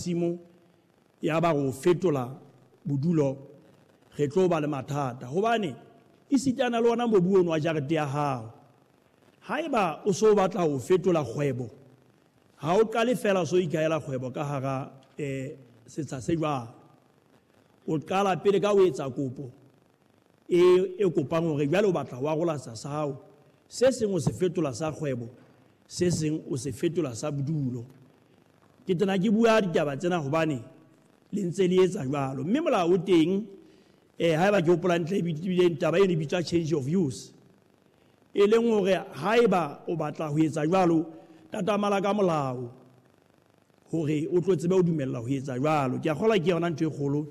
Masimo ya ba go fetola bodulo, re tlo ba le mathata hobane esitana le ona mobu ono wa jarete ya hao, haeba o so batla ho fetola kgwebo, ha o qale fela o so ikahela kgwebo ka hara setsha se jwalo. O qala pele ka ho etsa kopo e kopang hore jwale o batla ho arola setsha sa hao, se seng o se fetola sa kgwebo, se seng o se fetola sa bodulo. Ke tena ke bua ditaba tsena hobane le ntse le etsa jwalo, mme molao o teng. Haeba ke hopola ntle, ebileng taba eno e bitswa change of use, e leng hore haeba o batla ho etsa jwalo, tatamala ka molao hore o tlo tsebe ho dumella ho etsa jwalo. Ke a kgolwa ke yona ntho e kgolo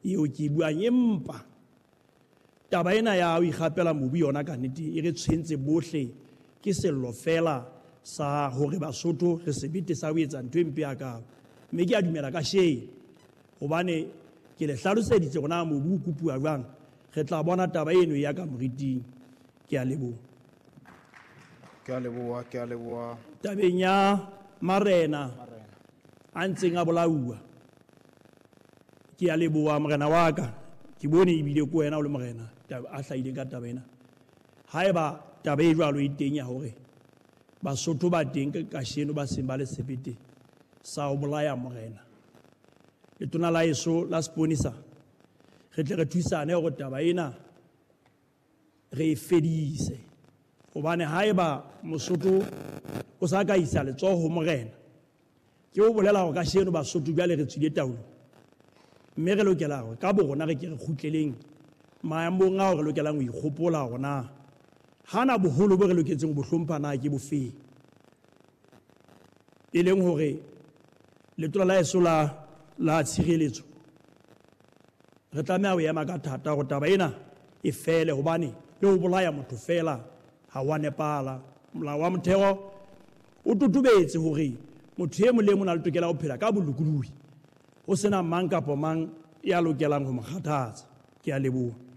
eo ke e buang, empa taba ena ya ho ikgapela mobu yona ka nnete e re tshwentse bohle. Ke sello fela sa hore Basotho re sebete sa ho etsa ntho e mpe hakalo, mme ke a dumela ka sheng hobane ke le hlaloseditse hore na mobu o kopuwa jwang. Re tla bona taba eno ya ka moriting. Ke a leboha. Ke a leboha, ke a leboha. Tabeng ya marena a ntseng a bolauwa, ke a leboha morena wa ka. Ke bone ebile ko wena o le morena a hlahileng ka taba ena. Haeba taba e jwalo e teng ya hore Basotho ba teng kasheno ba seng ba le sebete sa ho bolaya morena, letona la eso la seponisa, re tle re thusane hore taba ena re e fedise, hobane haeba Mosotho o sa ka isa letsoho ho morena, ke o bolela hore kasheno Basotho jwale re tswile taolo, mme re lokela hore ka borona re ke re kgutleleng maemong ao re lokelang ho ikgopola hore na hana boholo bo re loketseng ho bo hlompha na ke bofeng, e leng hore letona la eso la tshireletso re tlameha ho ema ka thata hore taba ena e fele, hobane le ho bolaya motho fela ha wa nepala. Molao wa motheo o totobetse hore motho e mong le e mong o na le tokelo ya ho phela ka bolokolohi, ho sena mang kapa mang ya lokelang ho mo kgathatsa. Ke a leboha.